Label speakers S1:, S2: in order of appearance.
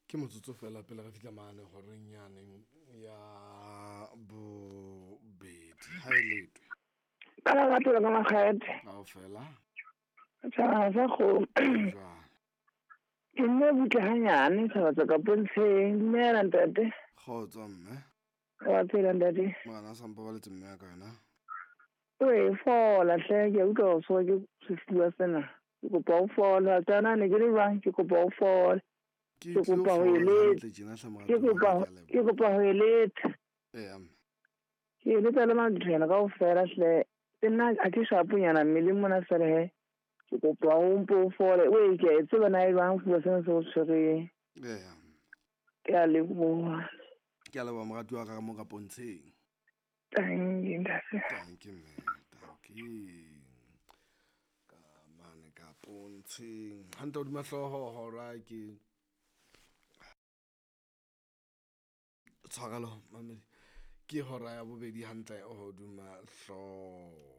S1: Ke motsotso fela pele re fihla mane horeng yane ya bobedi. Ha e letwe.
S2: Ka lerato la ka makgethe.
S1: Kaofela.
S2: Tjhaba sa kgomo.
S1: Jwang?
S2: Ke nne butle hanyane tjhaba tsa ka pontsheng. Dumela ntate.
S1: Kgotso mme.
S2: Wa phela ntate.
S1: Morena a sa mpabaletse mme ya ka yona.
S2: Oe fola hle, ke a utlwa hore tshwerwe ke sefuba sena. Ke kopa o fole. Wa tseba na ne ke le jwang? Ke kopa o fole.
S1: Ke
S2: Ke
S1: tlilo
S2: kopa ho
S1: fola
S2: eletsa.
S1: hantle tjena hle
S2: Ke
S1: moratuwa wa
S2: kopa
S1: ka, ke a
S2: ke
S1: leboha.
S2: kopa ho eletsa.
S1: Eya mme.
S2: Ke eletsa le mathonyana kaofela hle. Le nna ha ke shaponyana mmeleng mona fela he. Ke kopa o mpo o fole. Oe ke a e tseba na e jwang sefuba sena se o tshwereng.
S1: Eya mme.
S2: Ke a leboha.
S1: Ke a leboha moratuwa wa ka mo ka pontsheng.
S2: Tanki ntate.
S1: Tanki mme, tanki. Ka mane ka pontsheng. Hantle hodima hlooho hora ke tshwarelo mamedi. Ke hora ya bobedi hantle hodima hlooho.